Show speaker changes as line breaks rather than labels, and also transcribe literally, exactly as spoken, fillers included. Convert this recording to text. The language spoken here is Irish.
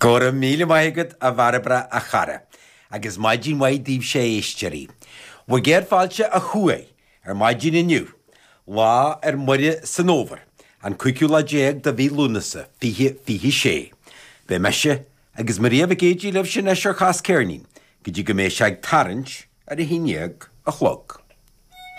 Go raibh míle maith agat a Bhairbre a chara, agus maidin mhaith daoibhse a éisteoirí. Bhur gcéad fáilte ó thuaidh ar maidin inniu, lá ar Muire san Fhómhar, an cúigiú lá déag de mhí Lúnasa, fiche fiche sé. Beidh mise agus Maria Mhic Géidigh libhse anois ar Chas Ceirnín, go dtí go mbeidh sé ag tarraingt ar a haon déag a chlog.